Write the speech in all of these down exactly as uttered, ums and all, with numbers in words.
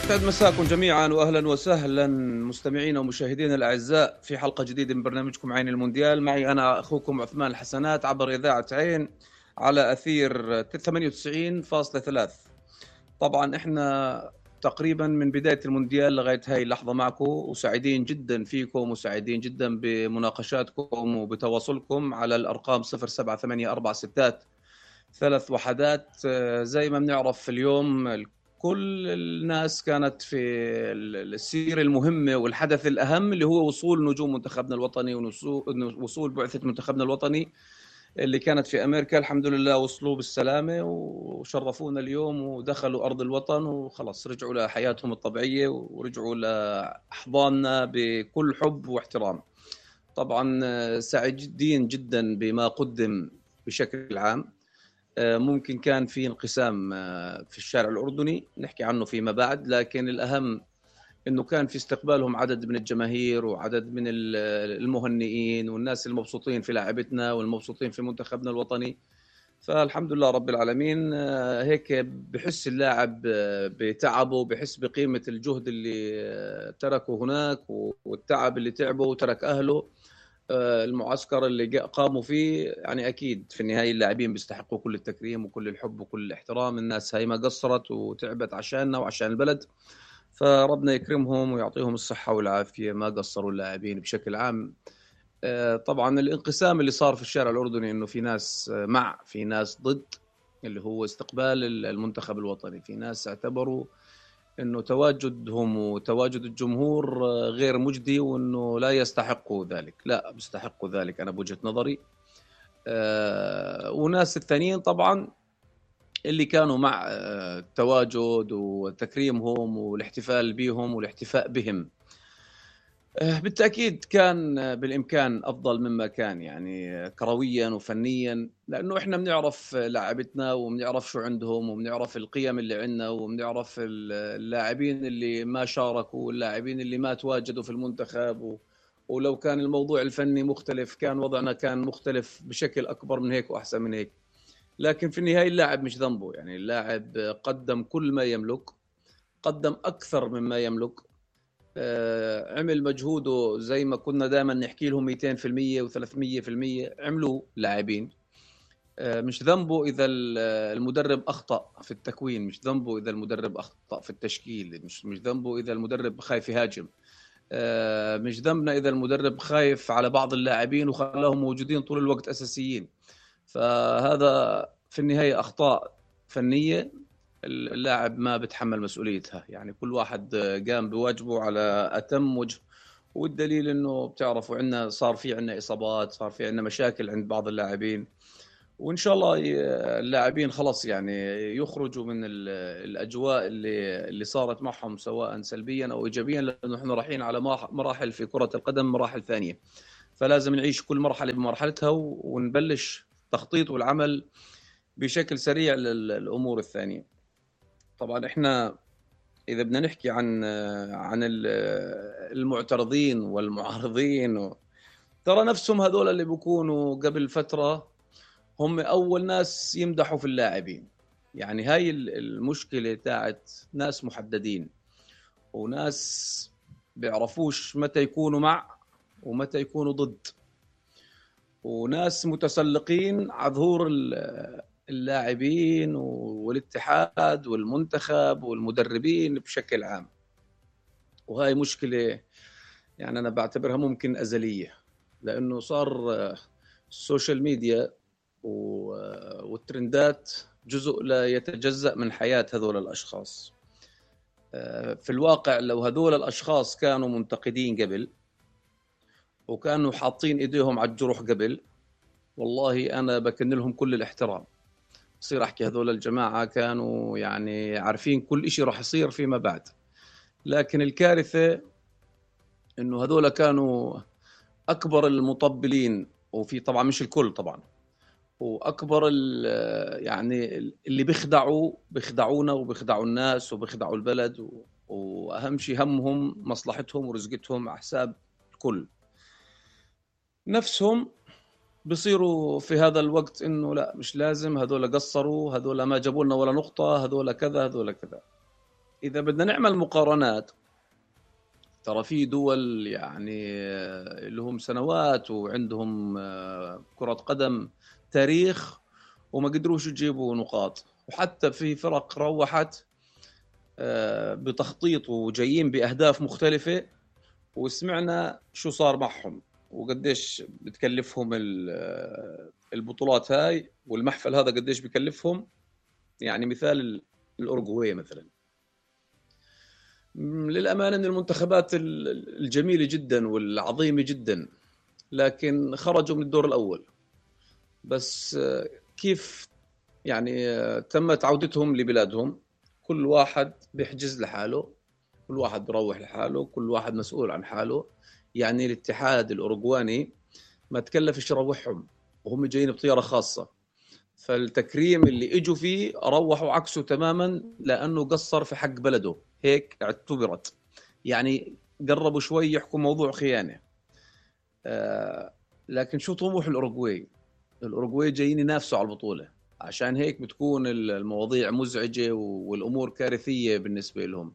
يسعد مساكم جميعا واهلا وسهلا مستمعينا ومشاهدينا الاعزاء في حلقه جديده من برنامجكم عين المونديال. معي انا اخوكم عثمان الحسنات عبر اذاعه عين على اثير ثمانية وتسعين فاصلة ثلاثة. طبعا احنا تقريبا من بدايه المونديال لغايه هاي اللحظه معكم، وسعيدين جدا فيكم وسعيدين جدا بمناقشاتكم وبتواصلكم على الارقام صفر سبعة ثمانية أربعة ستات ثلاث وحدات. زي ما بنعرف اليوم كل الناس كانت في السيرة المهمة والحدث الأهم اللي هو وصول نجوم منتخبنا الوطني ووصول بعثة منتخبنا الوطني اللي كانت في أمريكا. الحمد لله وصلوا بالسلامة وشرفونا اليوم ودخلوا أرض الوطن وخلاص رجعوا لحياتهم الطبيعية ورجعوا لأحضاننا بكل حب واحترام. طبعا سعيدين جدا بما قدم بشكل عام. ممكن كان في انقسام في الشارع الأردني نحكي عنه فيما بعد، لكن الأهم أنه كان في استقبالهم عدد من الجماهير وعدد من المهنئين والناس المبسوطين في لاعبتنا والمبسوطين في منتخبنا الوطني. فالحمد لله رب العالمين. هيك بحس اللاعب بتعبه، بحس بقيمة الجهد اللي تركه هناك والتعب اللي تعبه وترك أهله. المعسكر اللي قاموا فيه يعني أكيد في النهاية اللاعبين بيستحقوا كل التكريم وكل الحب وكل الاحترام. الناس هاي ما قصرت وتعبت عشاننا وعشان البلد، فربنا يكرمهم ويعطيهم الصحة والعافية. ما قصروا اللاعبين بشكل عام. طبعا الانقسام اللي صار في الشارع الأردني إنه في ناس مع في ناس ضد اللي هو استقبال المنتخب الوطني. في ناس اعتبروا إنه تواجدهم وتواجد الجمهور غير مجدي وإنه لا يستحقوا ذلك. لا، بيستحقوا ذلك أنا بوجهة نظري. أه وناس الثانيين طبعا اللي كانوا مع التواجد وتكريمهم والاحتفال بهم والاحتفاء بهم. بالتأكيد كان بالإمكان أفضل مما كان يعني كرويا وفنيا، لأنه إحنا بنعرف لاعبتنا وبنعرف شو عندهم وبنعرف القيم اللي عندنا وبنعرف اللاعبين اللي ما شاركوا واللاعبين اللي ما تواجدوا في المنتخب و... ولو كان الموضوع الفني مختلف كان وضعنا كان مختلف بشكل أكبر من هيك وأحسن من هيك. لكن في النهاية اللاعب مش ذنبه، يعني اللاعب قدم كل ما يملك، قدم أكثر مما يملك. عمل مجهوده زي ما كنا دائما نحكي لهم مئتين بالمئة وثلاثمئة بالمئة عملوا لاعبين. مش ذنبه إذا المدرب أخطأ في التكوين، مش ذنبه إذا المدرب أخطأ في التشكيل، مش مش ذنبه إذا المدرب خايف يهاجم، مش ذنبنا إذا المدرب خايف على بعض اللاعبين وخلاهم موجودين طول الوقت أساسيين. فهذا في النهاية أخطاء فنية اللاعب ما بتحمل مسؤوليتها. يعني كل واحد قام بواجبه على أتم وجه، والدليل إنه بتعرفوا عندنا صار في عندنا إصابات، صار في عندنا مشاكل عند بعض اللاعبين، وإن شاء الله اللاعبين خلاص يعني يخرجوا من الأجواء اللي اللي صارت معهم سواء سلبيا أو إيجابيا، لأنه إحنا رايحين على مراحل في كرة القدم مراحل ثانية، فلازم نعيش كل مرحلة بمرحلتها ونبلش تخطيط والعمل بشكل سريع للأمور الثانية. طبعا إحنا إذا بدنا نحكي عن عن المعترضين والمعارضين، ترى نفسهم هذول اللي بيكونوا قبل فترة هم أول ناس يمدحوا في اللاعبين. يعني هاي المشكلة تاعت ناس محددين وناس بيعرفوش متى يكونوا مع ومتى يكونوا ضد، وناس متسلقين على ظهور اللاعبين والاتحاد والمنتخب والمدربين بشكل عام. وهاي مشكلة يعني أنا بعتبرها ممكن أزلية، لأنه صار السوشيال ميديا والترندات جزء لا يتجزأ من حياة هذول الأشخاص. في الواقع لو هذول الأشخاص كانوا منتقدين قبل وكانوا حاطين إيديهم على الجروح قبل، والله أنا بكن لهم كل الاحترام. صير أحكي هذول الجماعة كانوا يعني عارفين كل إشي راح يصير فيما بعد. لكن الكارثة إنه هذول كانوا أكبر المطبلين، وفي طبعا مش الكل طبعا، وأكبر يعني اللي بيخدعوا بيخدعونا وبيخدعوا الناس وبيخدعوا البلد، وأهم شيء همهم مصلحتهم ورزقتهم على حساب الكل. نفسهم بيصيروا في هذا الوقت إنه لا مش لازم، هذول قصروا، هذول ما جابوا لنا ولا نقطة، هذول كذا هذول كذا. إذا بدنا نعمل مقارنات، ترى في دول يعني اللي هم سنوات وعندهم كرة قدم تاريخ وما قدروش يجيبوا نقاط، وحتى في فرق روحت بتخطيط وجايين بأهداف مختلفة، وسمعنا شو صار معهم وقديش بتكلفهم البطولات هاي، والمحفل هذا قديش بكلفهم. يعني مثال الأورجواي مثلا، للأمانة من المنتخبات الجميلة جدا والعظيمة جدا، لكن خرجوا من الدور الأول. بس كيف يعني تمت عودتهم لبلادهم؟ كل واحد بيحجز لحاله، كل واحد بروح لحاله، كل واحد مسؤول عن حاله. يعني الاتحاد الأوروغواني ما تكلفش يروحهم، وهم جايين بطيارة خاصة. فالتكريم اللي اجوا فيه روحوا عكسه تماما، لأنه قصر في حق بلده، هيك اعتبرت. يعني قربوا شوي يحكوا موضوع خيانة. آه لكن شو طموح الأوروغواي؟ الأوروغواي جايين ينافسوا على البطولة، عشان هيك بتكون المواضيع مزعجة والأمور كارثية بالنسبة لهم.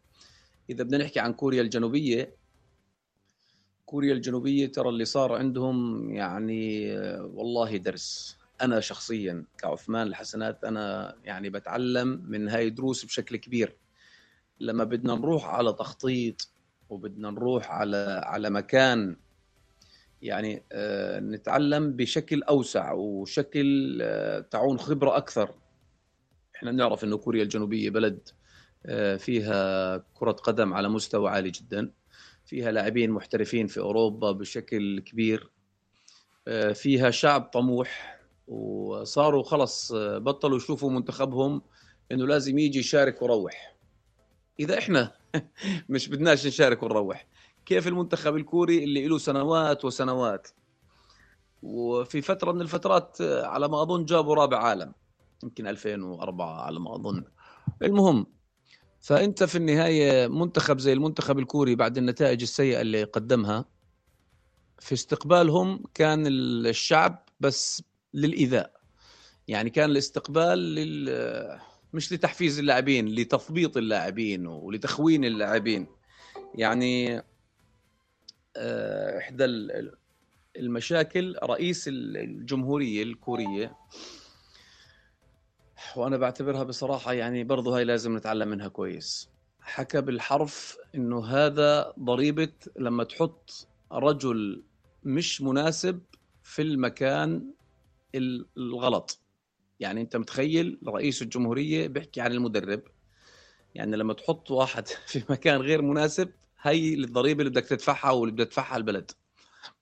إذا بدنا نحكي عن كوريا الجنوبية، كوريا الجنوبية ترى اللي صار عندهم يعني والله درس. أنا شخصيا كعثمان الحسنات أنا يعني بتعلم من هاي دروس بشكل كبير. لما بدنا نروح على تخطيط وبدنا نروح على على مكان، يعني آه نتعلم بشكل أوسع وشكل آه تعون خبرة أكثر. إحنا نعرف إنه كوريا الجنوبية بلد آه فيها كرة قدم على مستوى عالي جدا، فيها لاعبين محترفين في أوروبا بشكل كبير، فيها شعب طموح، وصاروا خلص بطلوا يشوفوا منتخبهم إنه لازم يجي يشارك ويروح. إذا إحنا مش بدناش نشارك ونروح، كيف المنتخب الكوري اللي له سنوات وسنوات، وفي فترة من الفترات على ما أظن جابوا رابع عالم، يمكن ألفين وأربعة على ما أظن. المهم، فأنت في النهاية منتخب زي المنتخب الكوري بعد النتائج السيئة اللي قدمها، في استقبالهم كان الشعب بس للإيذاء. يعني كان الاستقبال لل... مش لتحفيز اللاعبين، لتثبيط اللاعبين ولتخوين اللاعبين. يعني إحدى المشاكل رئيس الجمهورية الكورية، وأنا بعتبرها بصراحة يعني برضو هاي لازم نتعلم منها كويس، حكى بالحرف إنه هذا ضريبة لما تحط رجل مش مناسب في المكان الغلط. يعني أنت متخيل رئيس الجمهورية بيحكي عن المدرب، يعني لما تحط واحد في مكان غير مناسب، هي الضريبة اللي بدك تدفعها واللي بدك تدفعها البلد.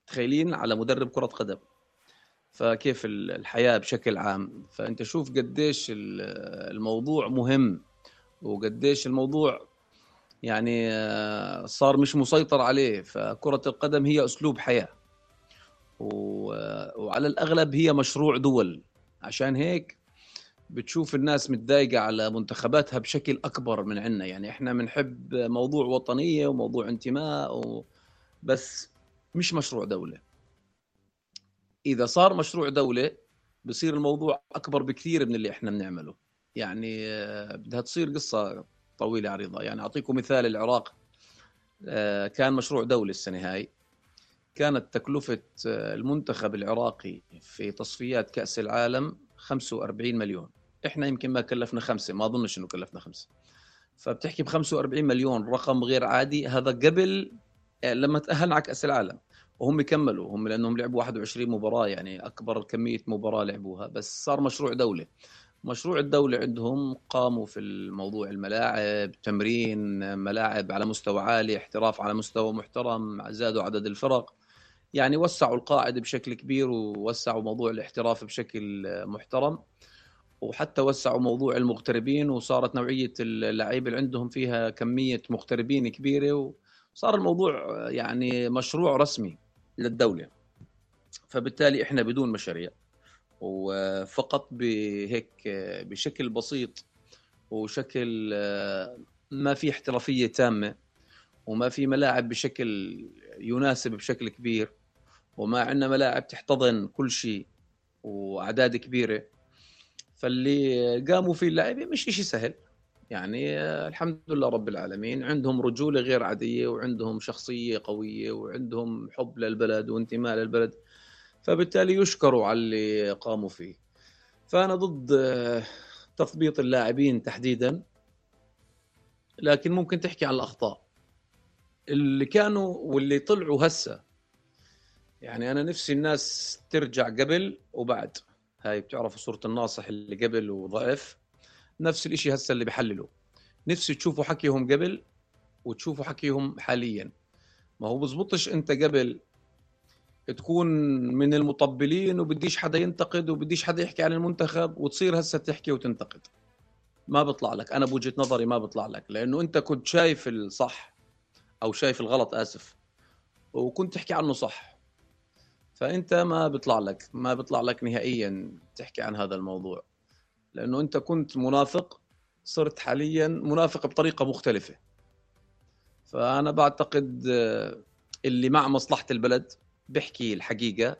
تخيلين على مدرب كرة قدم. فكيف الحياة بشكل عام. فأنت شوف قديش الموضوع مهم، وقديش الموضوع يعني صار مش مسيطر عليه. فكرة القدم هي أسلوب حياة، وعلى الأغلب هي مشروع دول. عشان هيك بتشوف الناس متضايقة على منتخباتها بشكل أكبر من عنا. يعني إحنا بنحب موضوع وطنية وموضوع انتماء و... بس مش مشروع دولة. إذا صار مشروع دولة بصير الموضوع أكبر بكثير من اللي إحنا بنعمله. يعني بدها تصير قصة طويلة عريضة. يعني أعطيكم مثال، العراق كان مشروع دولة السنة هاي، كانت تكلفة المنتخب العراقي في تصفيات كأس العالم خمسة وأربعين مليون. إحنا يمكن ما كلفنا خمسة، ما أظنش إنه كلفنا خمسة. فبتحكي ب خمسة وأربعين مليون، رقم غير عادي. هذا قبل لما تأهلنا على كأس العالم، وهم كملوا هم لأنهم لعبوا واحد وعشرين مباراة، يعني أكبر كمية مباراة لعبوها. بس صار مشروع دولة. مشروع الدولة عندهم قاموا في الموضوع الملاعب، تمرين ملاعب على مستوى عالي، احتراف على مستوى محترم، زادوا عدد الفرق، يعني وسعوا القاعدة بشكل كبير، ووسعوا موضوع الاحتراف بشكل محترم، وحتى وسعوا موضوع المغتربين، وصارت نوعية اللعيبة اللي عندهم فيها كمية مغتربين كبيرة، وصار الموضوع يعني مشروع رسمي للدولة. فبالتالي احنا بدون مشاريع، وفقط بهيك بشكل بسيط وشكل ما في احترافية تامة، وما في ملاعب بشكل يناسب بشكل كبير، وما عندنا ملاعب تحتضن كل شيء وأعداد كبيرة. فاللي قاموا فيه اللاعبين مش إشي سهل، يعني الحمد لله رب العالمين عندهم رجولة غير عادية، وعندهم شخصية قوية، وعندهم حب للبلد وانتماء للبلد، فبالتالي يشكروا على اللي قاموا فيه. فأنا ضد تثبيط اللاعبين تحديدا، لكن ممكن تحكي عن الأخطاء اللي كانوا واللي طلعوا هسه. يعني أنا نفسي الناس ترجع قبل وبعد. هاي بتعرفوا صورة الناصح اللي قبل وضعف، نفس الاشي هسه اللي بيحللوا. نفسي تشوفوا حكيهم قبل وتشوفوا حكيهم حاليا. ما هو بزبطش انت قبل تكون من المطبلين وبديش حدا ينتقد وبديش حدا يحكي عن المنتخب، وتصير هسه تحكي وتنتقد. ما بطلع لك، انا بوجهة نظري ما بطلع لك، لانه انت كنت شايف الصح او شايف الغلط، اسف، وكنت تحكي عنه صح. فانت ما بيطلع لك ما بيطلع لك نهائيا تحكي عن هذا الموضوع، لانه انت كنت منافق، صرت حاليا منافق بطريقة مختلفة. فانا بعتقد اللي مع مصلحة البلد بيحكي الحقيقة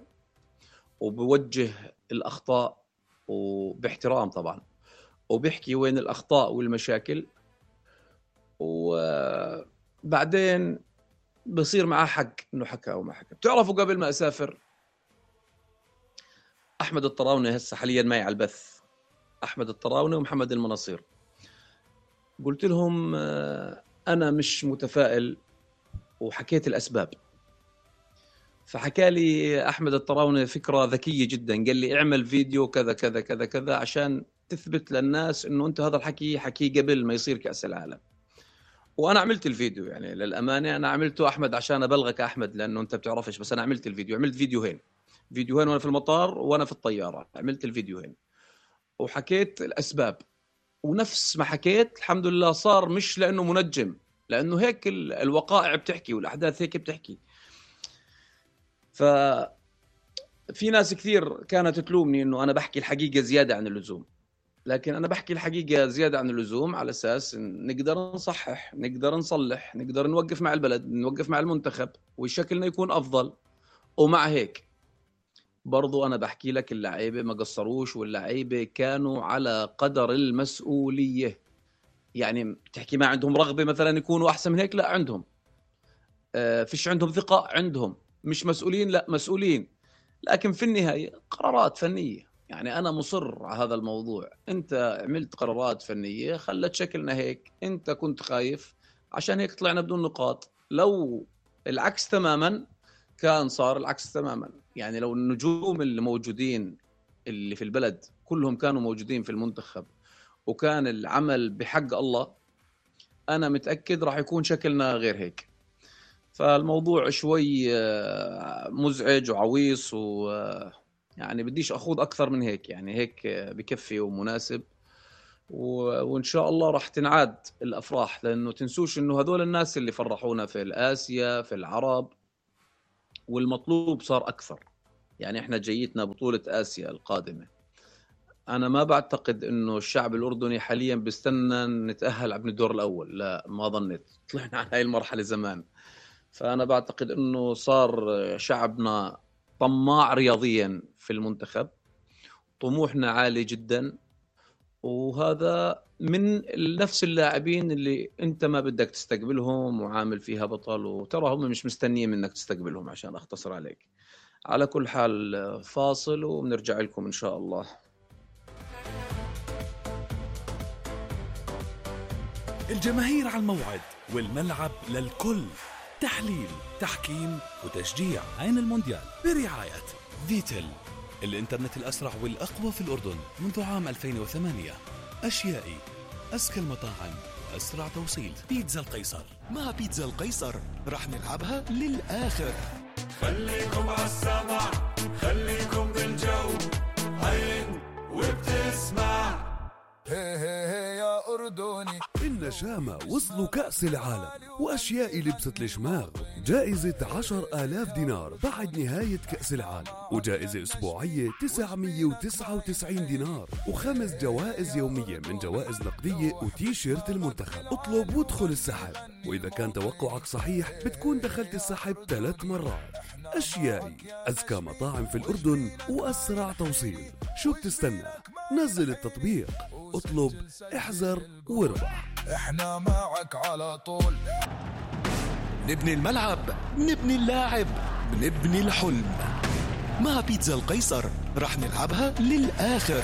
وبوجه الاخطاء وباحترام طبعا، وبيحكي وين الاخطاء والمشاكل، وبعدين بصير معاه حق انه حكى او ما حكى. بتعرفوا قبل ما اسافر، احمد الطراوني هسه حاليا معي على البث، احمد الطراوني ومحمد المناصير، قلت لهم انا مش متفائل وحكيت الاسباب. فحكى لي احمد الطراوني فكره ذكيه جدا، قال لي اعمل فيديو كذا كذا كذا كذا عشان تثبت للناس انه انت هذا الحكي حكي قبل ما يصير كاس العالم. وانا عملت الفيديو، يعني للامانه انا عملته احمد عشان ابلغك احمد، لانه انت بتعرفش، بس انا عملت الفيديو، عملت فيديوهين فيديوهين وانا في المطار وانا في الطياره، عملت الفيديوهين وحكيت الاسباب. ونفس ما حكيت الحمد لله صار، مش لانه منجم، لانه هيك الوقائع بتحكي والاحداث هيك بتحكي. ففي ناس كثير كانت تلومني انه انا بحكي الحقيقه زياده عن اللزوم، لكن انا بحكي الحقيقه زياده عن اللزوم على اساس نقدر نصحح، نقدر نصلح، نقدر نوقف مع البلد، نوقف مع المنتخب وشكلنا يكون افضل. ومع هيك برضو انا بحكي لك اللعيبه ما قصروش، واللعيبه كانوا على قدر المسؤوليه. يعني بتحكي ما عندهم رغبه مثلا يكونوا احسن من هيك؟ لا عندهم. آه فيش عندهم ثقه؟ عندهم. مش مسؤولين؟ لا مسؤولين. لكن في النهايه قرارات فنيه. يعني انا مصر على هذا الموضوع، انت عملت قرارات فنيه خلت شكلنا هيك، انت كنت خايف عشان هيك طلعنا بدون نقاط. لو العكس تماما كان صار العكس تماما. يعني لو النجوم اللي موجودين اللي في البلد كلهم كانوا موجودين في المنتخب وكان العمل بحق الله، أنا متأكد راح يكون شكلنا غير هيك. فالموضوع شوي مزعج وعويص، ويعني بديش أخوض أكثر من هيك. يعني هيك بكفي ومناسب، وإن شاء الله راح تنعاد الأفراح. لأنه تنسوش إنه هذول الناس اللي فرحونا في الآسيا في العرب، والمطلوب صار أكثر. يعني إحنا جيتنا بطولة آسيا القادمة، أنا ما بعتقد إنه الشعب الأردني حاليا بيستنى نتأهل على الدور الأول، لا ما ظنيت، طلعنا على هاي المرحلة زمان. فأنا بعتقد إنه صار شعبنا طماع رياضيا في المنتخب، طموحنا عالي جدا، وهذا من نفس اللاعبين اللي أنت ما بدك تستقبلهم وعامل فيها بطل، وترى هم مش مستنيين منك تستقبلهم. عشان أختصر عليك، على كل حال فاصل وبنرجع لكم إن شاء الله. الجماهير على الموعد والملعب للكل، تحليل، تحكيم وتشجيع. عين المونديال برعاية فيتل، الإنترنت الأسرع والأقوى في الأردن منذ عام ألفين وثمانية. أشيائي، أزكى المطاعم وأسرع توصيل. بيتزا القيصر، مع بيتزا القيصر رح نلعبها للآخر. خليكم عالسمع، خليكم بالجو، عين وبتسمع. هي هي هي يا أردني. النشامة وصلوا كأس العالم، وأشياء لبست الشماغ. جائزة عشر آلاف دينار بعد نهاية كأس العالم، وجائزة أسبوعية تسعمية وتسعة وتسعين دينار، وخمس جوائز يومية من جوائز نقدية وتيشيرت المنتخب. اطلب وادخل السحب، وإذا كان توقعك صحيح بتكون دخلت السحب ثلاث مرات. أشيائي، أزكى مطاعم في الأردن وأسرع توصيل. شو بتستنى؟ نزل التطبيق. اطلب، احذر واربح. احنا معك على طول. نبني الملعب، نبني اللاعب، نبني الحلم. مع بيتزا القيصر رح نلعبها للآخر.